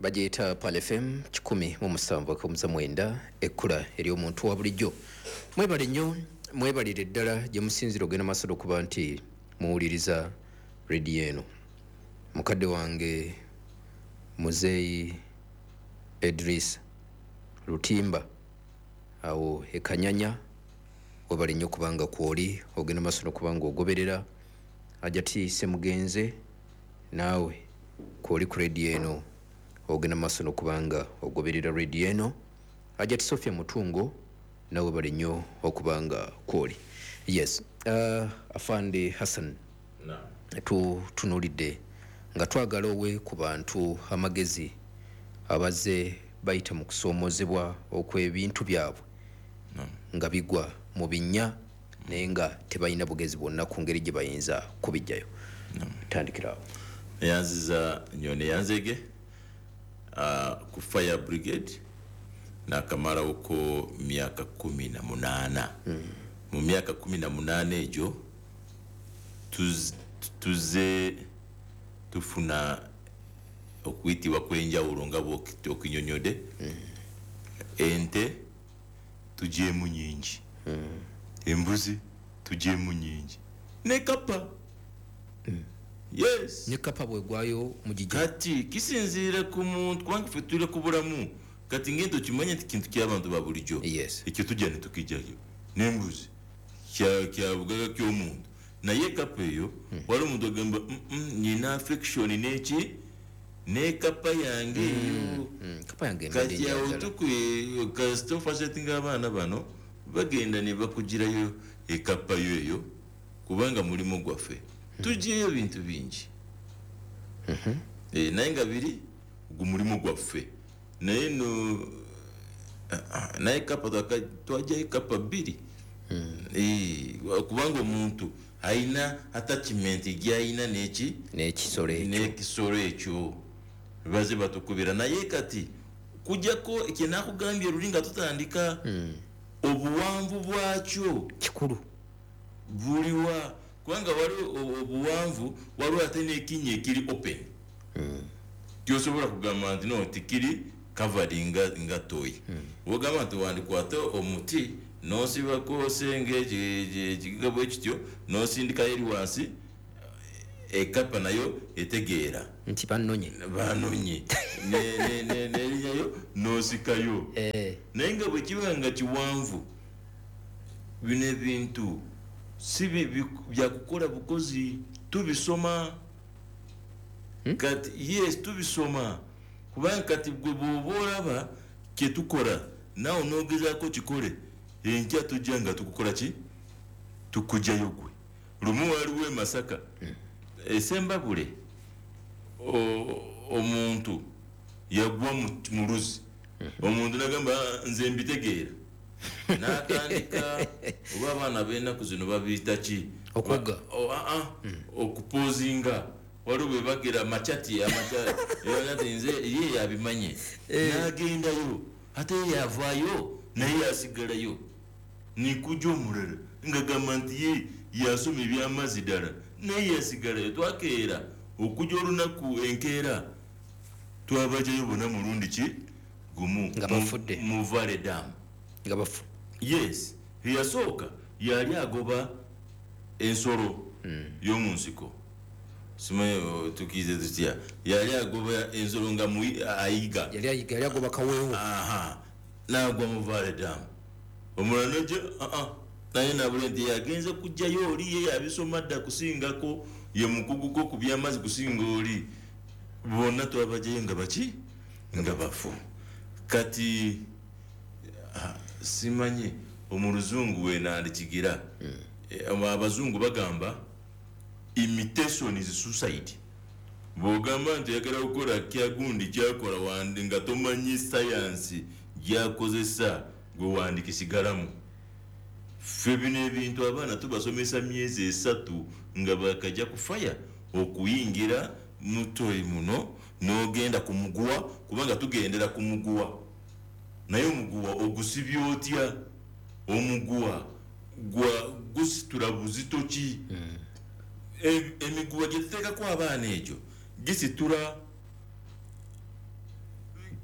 Bagiyita Pal FM 107.9, ekkula ery'omuntu wa bulijjo. Mwebale nnyo, mwebalire ddala gye musinzira ogenda maaso okuba nti muwuliriza rediyo eno. Mukadde wange Muzeeyi Edris Lutimba awo ekanyanya, webale nnyo kubanga kwoli ogenda maaso n'okuba nga ogoberera. Ajati Semugenze, naawe kwoli ku rediyo eno, ogenda maaso n'okuba nga ogoberera rediyo eno. Ajati Sofia Mutungo, nawe bale nnyo okuba nga kwoli. Yes, Afande Hassan, tutunulidde nga twagala owe ku bantu amagezi abazze bayita mu kusoomozebwa okw'ebintu byabwe nga bigwa mu binnya, naye nga tebalina bugezi bwonna ku ngeri gye bayinza kubijjayo. Tandikirawo. Neyanziza nnyo, neyanzege ku fire brigade nakamalawoko myaka 18. Mu myaka 18 egyo tuze tufuna okuyitibwa kw'enjawulo nga bw'okinyonyodde. Ente tugyemu nyingi, embuzi tugyemu nyingi, ne kapa. Yes. Ne kapa bwegwayo mugijja? Kati kisinziira ku muntu, kubanga ffe tuli ku bulamu. Kati ngenda okimanye nti kintu ky'abantu ba bulijjo, ekyo tujja ne tukijjayo, n'embuzi kya bugaga ky'omuntu, naye kapa eyo waliwo omuntu agamba, "Nyina affection n'eki n'ekapa yange eyo." Kapa yange mbadde Kati awo njagala. Kasita ofacetinga abaana bano bagenda ne bakugirayo ekapa yo eyo, kubanga mulimu gwaffe tugyeyo bintu bingi. Naye nga biri gu mulimu gwaffe, naye no naye kapa twajjayo kapa 2. Kubanga omuntu ayina attachment gyayina neki n'ekisolo ekyo. N'ekisolo ekyo baze batukubira. Naye kati kujjako kyenakugambye luli nga tutandika, obuwanvu bwakyo kikulu. Buliwa? Kubanga waliwo obuwanvu, waliwo ate n'ekinnya ekiri open, tyosobola kugamba nti no tikiri covered nga toyi. Wogamba nti wandikwate omuti nosibako senge ekigiga bwe kityo, nosindikayo eri wansi, ekapa nayo etegeera nti bannonye. Banonye nerinyayo nosikayo. Naye nga bwe kiba nga kiwanvu, bino ebintu si byakukola bukozi, tubisoma. Kati yes, tubisoma, kubanga kati gwe bw'oba olaba kyetukola naawe nogezaako kikole, enkya tujja nga tukukola ki, tukugjayo gwe. Lumu waliwo e Masaka, esembabule, omuntu yagwa mu luzzi. Omuntu nagamba, "Ah, nze mbitegeera," n'atandika oba abaana b'ennaku zino babiyita ki? Okwoga. Okupozinga. Waliwo bwe bagera machati ati nze ye yabimanye, n'agendayo, ate ye yavaayo naye yasigalayo. Nikuja omulala nga gamba nti ye yasoma ebyamazzi ddala, naye yasigalayo. Twakeera okujja olunaku enkeera, twabajayo bonna mulundi ki gumu. Nga bafudde. Mu Valley Dam. Nga bafu. Yes, eyasooka yali agoba ensolo y'omu nsiko, simanyi tukiize tutya, yali agoba ensolo nga ayiga. Yali ayiga, yali agoba kaweewo. Aha, nagwa mu Valley Dam. Omulala noja, naye nabula nti yagenze kujjayo oli, ye yabisoma dda kusingako, ye mukuguko ku byamazzi kusinga oli. Bonna twabajayo nga baki, nga bafu. Kati simanyi omuluzungu wenandikigira. Abazungu bagamba imitation is suicide. Bwogamba nti oyagala kukola kyagundi kyakola wandi nga tomanyi sayansi gyakozesa, gwe wandikisigalamu. Ffe bino ebintu abaana tubasomesa myezi 3 nga bakajja kufaya okuyingira mutoyi muno, n'ogenda ku muguwa, kubanga tugendera ku muguwa. Naye omuguwa ogusibye otya? Omuguwa gwa gusitula buzito ki? Emiguwa gye tuteekako abaana egyo gisitula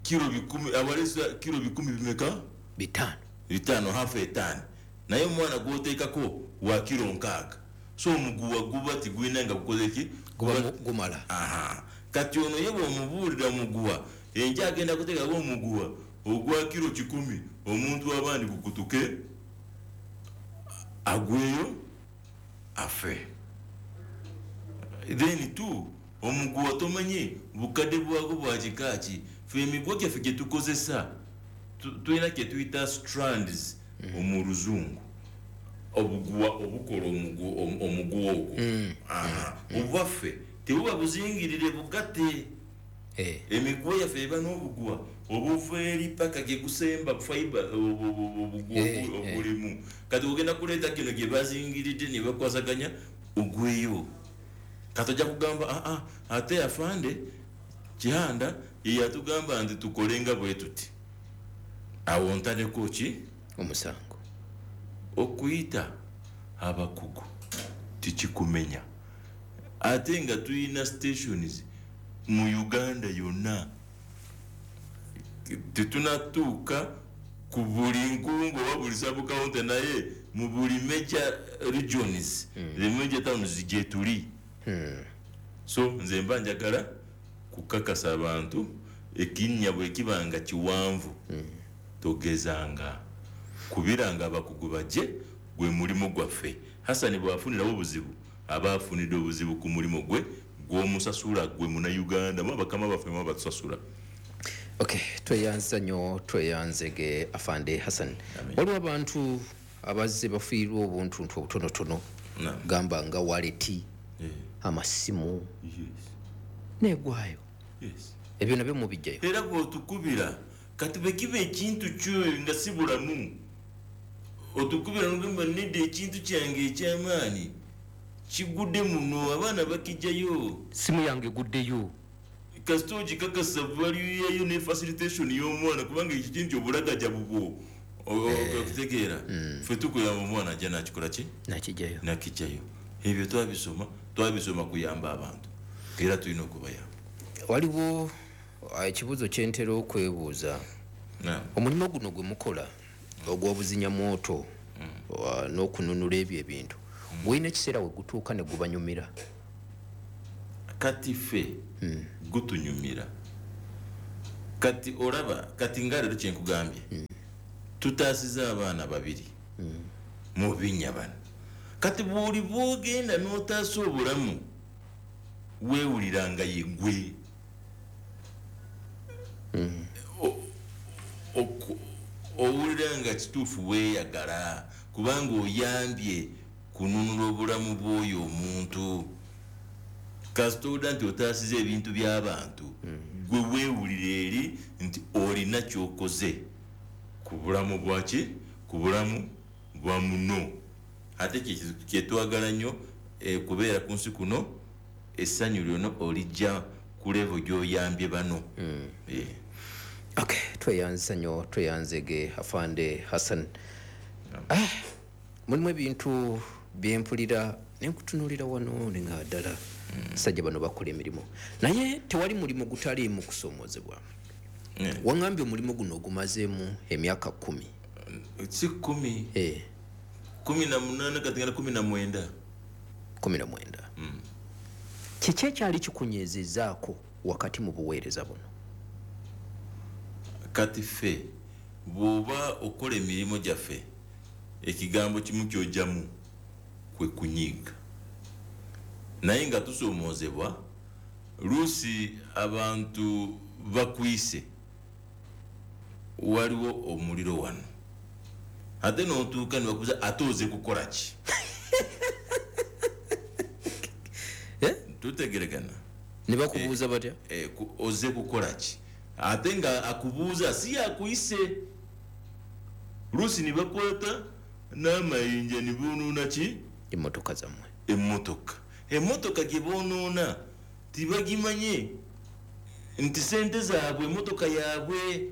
Kiro 10 abalesa kiro 10 bimeka 5 half a ton naye omwana gwoteekako wa kiro 6 so omuguwa guba tigwina nga gukoze ki gumala. Kati ono ye bw'omubuulira omuguwa enja agenda kuteekako omuguwa ogwa kiro 10 omuntu abandi gukutuke agweyo afe. Then two omuguwa tomanyi bukadde bwago bwa kikaaki. Ffe emiguwa gyaffe gye tukozesa tulina kye tuyita strands mu luzungu, obuguwa obukola omuguwa ogwo. Obwaffe tebuba buzingirire bugatte. Emiguwa yaffe eba n'obuguwa obuva eri paka gye gusemba fiber obuguwa obulimu. Kati ogenda kuleeta kino gye bazingiridde ne bakwasaganya ogweyo. Kati ojja kugamba ate afande Kihanda yatugamba nti tukolenga bwe tuti. Awo ntadeko ki omusango okuyita abakugu tikikumenya. Ate nga tuyina stations mu Uganda yonna, tetunatuuka ku buli nkungu oba buli sub-county, naye mu buli major regions, the major towns gye tuli. So nze mba njagala kukakasa abantu ekinnya bwe kiba nga kiwanvu togezanga kubiranga abakugu bajje gwe mulimu gwaffe. Hassan bw'afunirawo obuzibu aba afunidde obuzibu ku mulimu gwe gw'omusasula gwe Munnayuganda bakama baffe mwe batusasula. Okay, tweyanza nnyo, tweyanzege afande Hassan. Waliwo abantu abazze bafiirwa obuntuntu obutonotono, gamba nga waleti, amasimu, negwayo. Ebyo nabyo mubijjayo. Era bw'otukubira kati bwe kiba ekintu kyo nga si bulamu, otukubira n'ogamba nedda ekintu kyange eky'amaanyi kigudde muno, abaana bakijjayo, simu yange eguddeyo. Kasita ogikakasa value yayo ne facilitation y'omwana, kubanga ekyo kintu obulagaja bubwo okutegeera. Ffe tukuyamba omwana ajja nakikola ki nakijjayo. Ebyo twabisoma kuyamba abantu era tulina okubayamba. Waliwo ekibuuzo kyentera okwebuuza. Omulimu guno gwe mukola ogw'obuzinyamwoto n'okununula ebyo ebintu, gulina ekiseera we gutuuka ne gubanyumira? Kati ffe gutunyumira. Kati olaba kati nga leero kye nkugambye, tutaasiza abaana 2 mu binnya bano. Kati bw'oli bw'ogenda n'otaasa obulamu weewuliranga ye ggwe. Owulira nga kituufu weeyagala kubanga oyambye kununula obulamu bw'oyo omuntu. Kasita owulira nti otaasiza ebintu by'abantu, gwe weewulira eri nti olina ky'okoze ku bulamu bwaki, ku bulamu bwa muno. Ate kyetwagala nnyo kubeera ku nsi kuno, essanyu lyonna olijja ku level gy'oyambye bano. Okay, tweyanza nnyo, tweyanzege afande Hassan. Mulimu ebintu byempulira nenkutunuulira wano nenga ddala sajja bano bakola emirimu, naye tewali mulimu gutaliimu kusomoozebwa. Wangambye omulimu guno ogumazeemu emyaka 10. Si 10. 18 kati ngana 19. 19. Kiki ekyali kikunyezezaako wakati mu buweereza buno? Kati ffe bw'oba okola emirimu gyaffe, ekigambo kimu ky'ojjamu kwe kunyiiga. Naye nga tusomoozebwa, luusi abantu bakuyise waliwo omuliro wano, ate n'otuuka ne bakubuuza ate oze kukola ki? Tutegeregana. Ne bakubuuza batya? Oze kukola ki? Ate nga akubuuza si yakuyise. Luusi ne bakwata n'amayinja ne boonoona ki? Emmotoka zammwe. Emmotoka gye boonoona tibagimanye nti sente zaabwe, emmotoka yaabwe.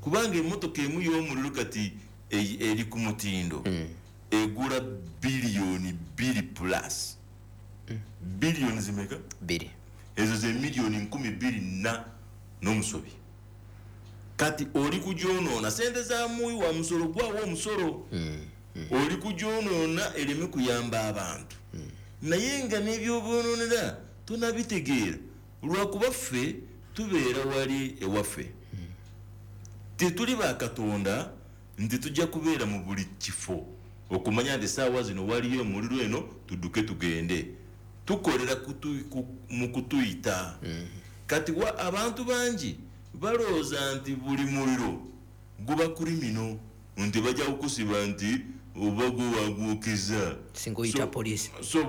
Kubanga emmotoka emu y'omuliro kati eri ku mutindo egula biliyoni 2 plus. Biliyoni zimeka? 2. Ezo ze miliyoni 2,000 na N'omusobi kati oli kugyonoona sente za muwi wa musolo gwawo omusolo, oli kugyonoona ereme kuyamba abantu. Naye nga n'ebyobwonoonera tonabitegeera, lwakuba ffe tubeera wali ewaffe, tetuli bakatonda nti tujja kubeera mu buli kifo okumanya nti saawa zino waliyo omuliro eno tudduke tugende. Tukolera mu kutuyita. Kati abantu bangi balowooza nti buli muliro guba kulimino, nti bajja kukusiba nti oba gwewagwokeza singa oyita poliisi. So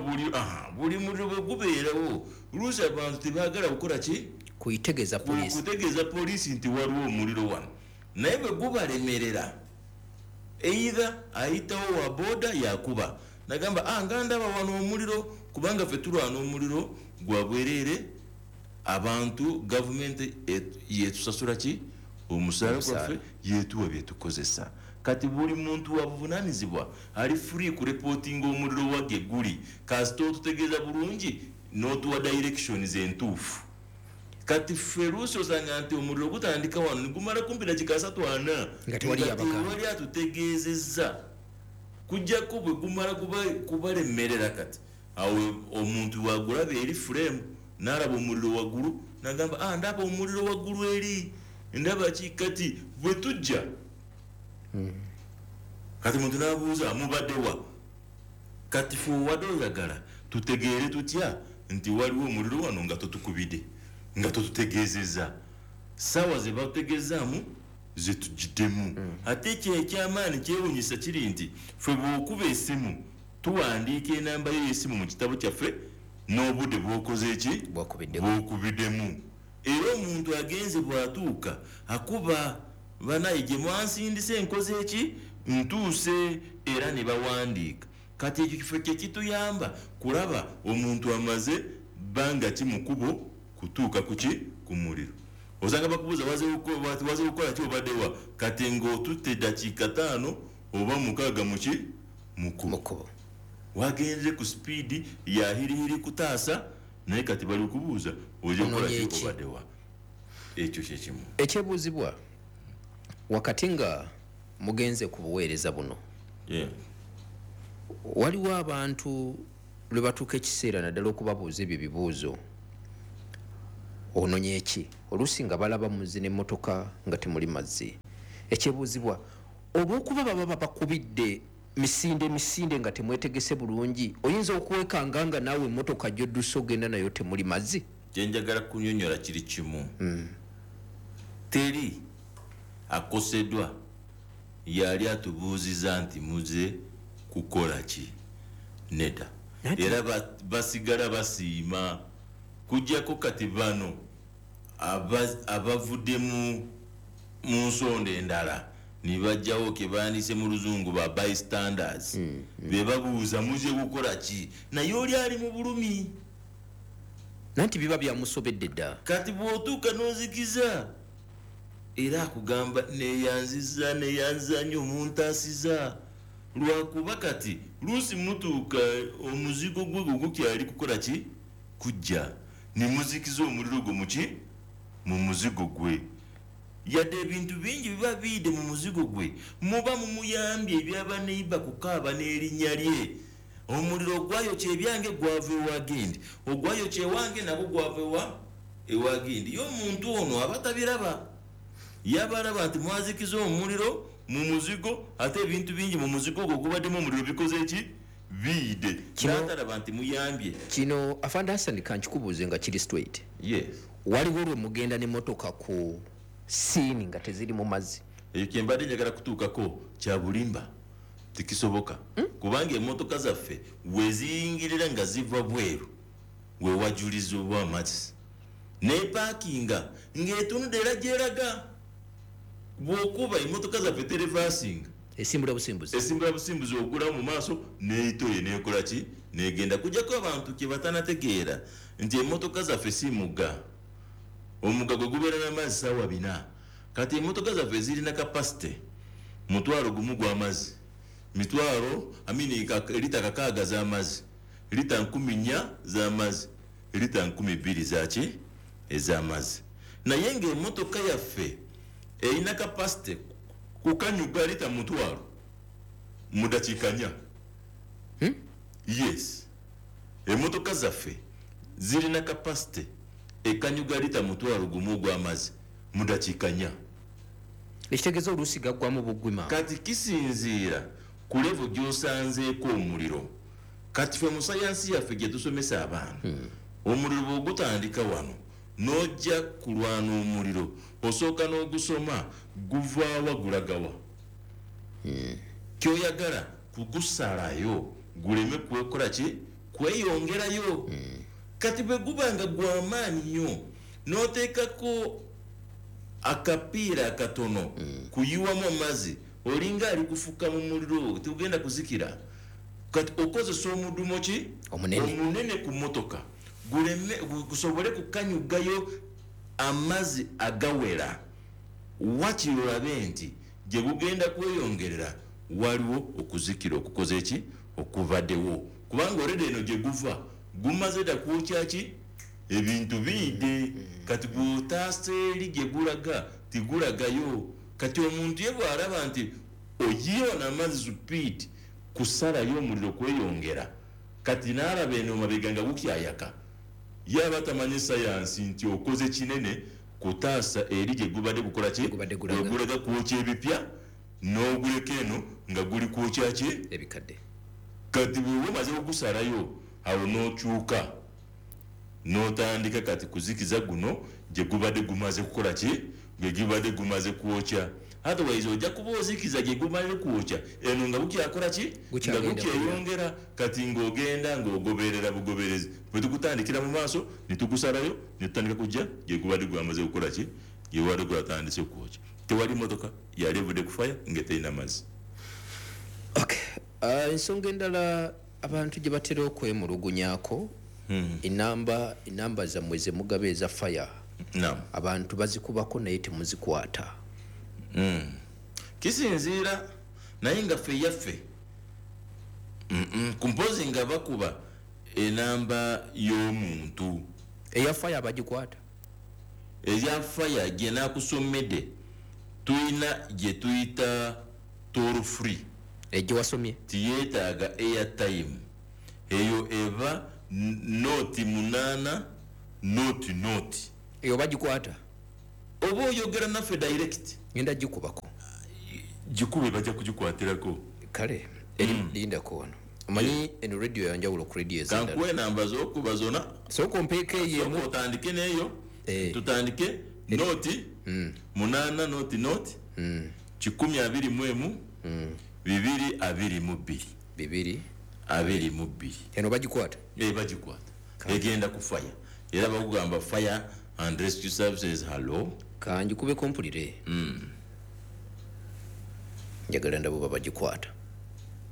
buli muliro bwe gubeerawo, luusi abantu tebaagala kukola ki? Kuitegeeza poliisi, kutegeeza poliisi nti waliwo omuliro wano. Naye bwe gubalemerera, either ayitawo wa boda yakuba nagamba nga ndaba wano omuliro, kubanga ffe tulwana omuliro gwa bwereere. Abantu gavumenti yetusasula ki? Omusaala gwaffe yetuwa byetukozesa. Kati buli muntu wabuvunaanyizibwa ali free kureportinga omuliro wage guli, kasita otutegeeza bulungi n'otuwa directions entuufu. Kati ffe luusi osanga nti omuliro gutandika wano negumala kumpi dakika 3-4 nga tewali atutegeezezza, kujjako bwe gumala kubalemerera. Kati awo omuntu wagulaba eri frame n'alaba omuliro waggulu n'agamba ndaba omuliro waggulu eri, ndaba ki? Kati bwe tujja kati muntu n'abuuza mubaddewa? Kati ffe owadde oyagala tutegeere tutya nti waliwo omuliro wano nga totukubidde, nga totutegeezezza? Saawa ze batutegeezaamu zetugiddemu. Ate ekyo ekyamaanyi kyewunyisa kiri nti ffe bw'okuba essimu tuwandiika enamba yo y'essimu mu kitabo kyaffe n'obudde bw'okoze ki? Bw'okubiddemu. Era omuntu agenze bw'atuuka akuba banaye gye mwansindise enkoze eki ntuuse, era ne bawandiika. Kati ekyo kifo kye kituyamba kulaba omuntu amaze bbanga ki mu kkubo kutuuka ku ki? Ku muliro. Osanga bakubuuza waze kukola ki, obaddewa? Kati ng'otutte dakiika 5 oba 6 mu ki? Mu kkubo. Wagenze ku sipiidi ya hirihiri kutaasa, naye kati bali kubuuza oje kukola ki, obaddewa? Ekyo kye kimu. Ekyebuuzibwa wakati nga mugenze ku buweereza buno, waliwo abantu lwe batuuka ekiseera naddala okubabuuza ebyo ebibuuzo, ononye ki? Oluusi nga balaba muzi n'emmotoka nga temuli mazzi. Ekyebuuzibwa, olw'okuba baba babakubidde misinde nga temwetegese bulungi, oyinza okwekanga nga naawe emmotoka gy'odduse ogenda nayo temuli mazzi? Kye njagala kunyonyola kiri kimu. Teri akoseddwa yali atubuuziza nti muze kukola ki, nedda. Era basigala basiima kujjako kati bano abavudde mu nsonda endala ne bajjawo ke bandise mu luzungu ba bystanders, be babuuza muze kukola ki, naye oli ali mu bulumi. Nanti biba byamusobedde dda. Kati bw'otuuka n'ozikiza, era akugamba neyanziza neyanziza nnyo muntaasiza, lwakuba kati luusi mutuuka omuzigo gwe gwo gukyali kukola ki? Kujja ne muzikiza omuliro gwo muki? Mu muzigo gwe. Yadde ebintu bingi biba biyidde mu muzigo gwe, muba mumuyambye ebyabaneiba kukaaba n'erinnya lye. Omuliro ogwayokya ebyange gwava ewa gindi, ogwayokya ewange nagwo gwava ewa gindi. Ye omuntu ono aba tabiraba, yabalaba nti mwazikiza omuliro mu muzigo, ate ebintu bingi mu muzigo ogwo gubaddemu omuliro bikoze ki? Biyidde. N'atalaba nti muyambye. Kino Afande Hassan kankikubuuze nga kiri straight. Yes. Waliwo lwe mugenda n'emmotoka ku siini nga teziri mu mazzi? Ekyo kye mbadde njagala kutuukako kya bulimba, tekisoboka. Kubanga emmotoka zaffe we ziyingirira nga ziva bweru we wajulizibwa amazzi, n'epaakinga ng'etunudde era gyeraga. Bw'okuba emmotoka zaffe terevasinga, esimbula busimbuzi, esimbula busimbuzi, ogulawo mu maaso n'eyitoye n'ekola ki? N'egenda. Kujjako abantu kye batanategeera nti emmotoka zaffe si mugga. Omugga gwe gubeera n'amazzi ssaawa 4. Kati emmotoka zaffe zirina kapasite 1,000 gw'amazzi, mitwalo amini lita 6 z'amazzi, lita 4,000 z'amazzi, lita 2,000 zaki ez'amazzi. Naye ng'emmotoka yaffe erina capacity kukanyuga lita 5,000 mu dakiika 4. Yes, emmotoka zaffe zirina capacity ekanyuga lita 1,000 ogw'amazzi mu dakiika 4. Ekitegeeza oluusi gaggwamu bugwima. Kati kisinziira ku level gy'osanzeeko omuliro. Kati ffe mu sayansi yaffe gye tusomesa abaana, omuliro bw'ogutandika wano n'ojja kulwana omuliro, osooka n'ogusoma guvaawa gulagawa. Kyoyagala kugusalayo guleme kwekola ki, kweyongerayo. Kati bwe guba nga gw'amaanyi nnyo n'oteekako akapiira akatono kuyiwamu amazzi, olinga ali kufuka mu muliro, tugenda kuzikira. Kati okozesa omudumo ki omunene ku mmotoka guleme gusobole kukanyugayo amazzi agawera. Wakiri olabe nti gye gugenda kweyongerera waliwo okuzikira okukoze ki okubaddewo, kubanga olede eno gye guva gumaze dda kwokya ki ebintu biyidde. Kati gw'otaasa eri gye gulaga tigulagayo. Kati omuntu ye bw'alaba nti oyiyewo n'amazzi supiidi kusalayo omuliro kweyongera, kati n'alaba eno mabega nga gukyayaka, yaba tamanyi sayansi nti okoze kinene kutaasa eri gye gubadde gukola ki, gulaga kwokya ebipya n'oguleka eno nga guli kwokya ki ebikadde. Kati bwe omaze okusalayo awo n'okyuka n'otandika kati kuzikiza guno gye gubadde gumaze kukola ki, gwe gubadde gumaze kwokya. Otherwise ojja kuba ozikiza gye gumaze kwokya eno nga bukyakola ki, nga bukyeyongera. Kati ng'ogenda ng'ogoberera bugoberezi, bwe tukutandikira mu maaso ne tugusalayo ne tutandika kujja gye gubadde gwamaze kukola ki, gye gubadde gwatandise kwokya. Tewali mmotoka yali evudde ku fire nga terina mazzi. Okay. Ensonga endala abantu gye batera okwemulugunyaako, enamba zammwe ze mugaba eza fire, abantu bazikubako naye temuzikwata. Kisinziira naye nga ffe yaffe kumpozi nga bakuba enamba y'omuntu eya fire bagikwata. Eya fire gye nakusomedde tuyina gye tuyita toll free, egye wasomye tiyeetaaga airtime. Eyo eba 08 00 eyo bagikwata. Oba oyogera naffe direct, ngenda gikubako. Gikube bajja kugikwatirako. Kale eri lindako wano. Omanyi eno radio yanjawulo ku radio ez'endala. Kankuwe enamba z'okuba zonna. Sooka ompeeko eyo emu. Sooka otandike n'eyo. Tutandike 08 00 121 222 222. Eno bagikwata? Bagikwata. Egenda ku fire. Era bakugamba Fire and Rescue Services, hello. Kanjikubeko mpulire. Njagala ndabo bagikwata.